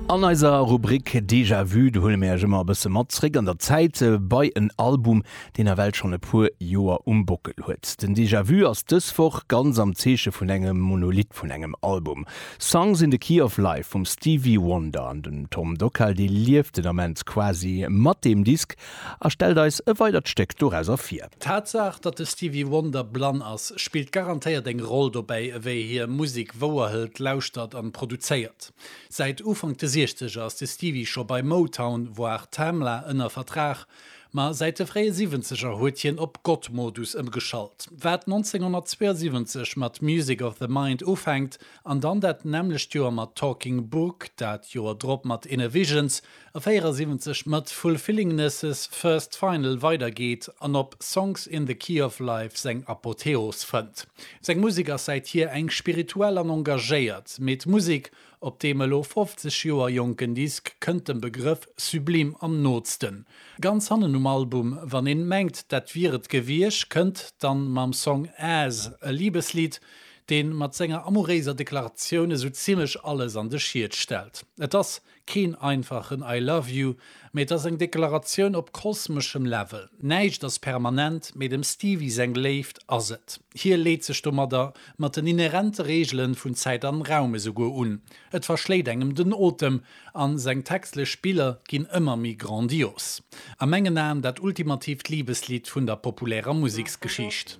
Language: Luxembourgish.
An eiser Rubrik Déjà Vu, do huele mir Iech ëmmer e bësse mat zréck an der Zäit bei en Album, deen nawell schonn e puer Joer um Bockel huet. Den Déjà Vu ass dës Woch ganz am Zeeche vun engem Monolith vun engem Album, Songs in the Key of Life vum Stevie Wonder. An den Tom Dockal, dee lieft den Ament quasi mat deem Disk a stellt eis e weidert Stéck dorauser vir. D'Tatsaach, datt de Stevie Wonder blann ass, spillt garantéiert eng Roll dobäi, ewéi hie Musek wouerhëlt, lauschtert an produzéiert. Säit Ufank de Siechzeger ass de Stevie scho bei Motown, voire Tamla, ënner Vertrag, ma säit de fréie Siwwenzeger huet hien op God-Modus ëmgeschalt. Wat 1972 mat Music of the Mind ufänkt an dann dat nämmlecht Joer mat Talking Book, dat Joer drop mat Innervisions a 74 mat Fulfillingness' First Final weidergeet an op Songs in the Key of Life seng Apotheos fënnt. Seng Musek ass säithier eng spirituell an engagéiert, mee d'Musek op deem elo 50 Joer jonken Disk kënnt dem Begrëff sublime am nootsten. Ganz hannen um Album, wann een mengt dat wier et gewiescht, kënnt dann mam Song As e Libeslidd, deen mat senger amouréiser Deklaratioun esou zimlech alles an de Schiet stellt. Et ass Keen einfachen I love you, mee et ass eng Deklaratioun op kosmeschem Level. Näischt ass permanent, mee dem Stevie seng Léift ass et. Hie leet sech domadder mat den inherente Reegelen vun Zäit an Raum esouguer un. Et verschléit engem den Otem, an seng textlech Spiller ginn ëmmer méi grandios. A mengen Aen dat ultimatiivt Libeslidd vun der populärer Museksgeschicht.